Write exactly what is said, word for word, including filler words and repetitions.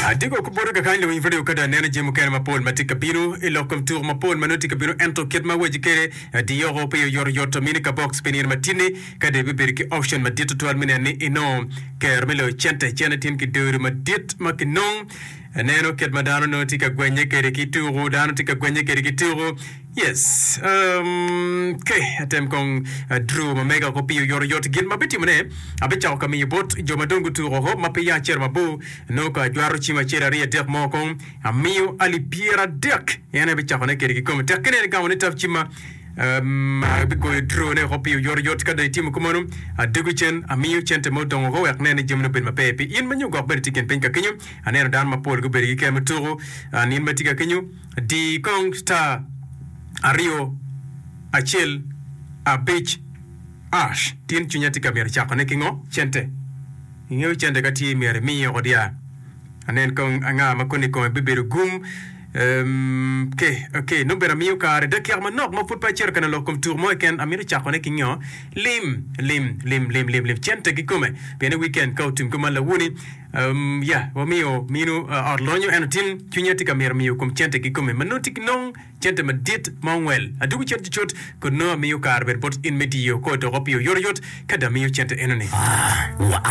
Adiko kubodo kakany luwiny radio kada neno jami mukene mapol ma tye ka bino i lok kom tuko mapol ma nongo tye ka bino ento kit ma waci kede diyoko pe oyotoyot mini ka box pi nino matini ka dong ibibedo ki option madit tutwal me neno ni inongo kero me loyo cente cente tin ki dero madit ma kinong aneno kit ma dano nongo tye ka gwenye kede ki tuko dano tye ka gwenye kede ki tuko yes um, okay atem kong uh, draw ma mega ko piyo yotoyot gin ma bitimone abicako ka miyo bot jo ma dong gutuko ko ma pe ya acel mabor nongo ka ajwaro cim acel aryo adek mo kong amiyo alip pyeradek en aye bicakone kede kikome tek kine en gamo ni tap cimma um, abigoyo draw ne oko piyo yotoyot ka dong itimo kumano adego cen amiyo cente ma odongo ko wek ne ni jamine obed maber pi in ma nyo gwok bene tye i kin piny ka kenyo aneno dano mapol gubedo ki kero me tuko an in ma tye ka kenyo di kong star aryo acel abic ash tin cwinya tye ka myero cakone ki ngo cente ingeyo cente ka tye myero imiyo oko dia anen kong anga ma koni kome bibedo gum Um, okay, okay, nongo bene amiyo kare dakika manok ma pud pe acito ka lok kom tuko mo keken amito cakone ki ngo lim lim lim lim lim lim cente kikome pien i weekend ka otim kuman lawuni um, ya wamiyo mino uh, ot lonyo eno tin cwinya tye ka myero miyo kom cente kikome ma nongo tye ki nong cente madit ma ongwel adugo cente cucut kun nongo amiyo kare bene bot in me diyo ko doko piyo yotoyot ka dong amiyo cente enoni.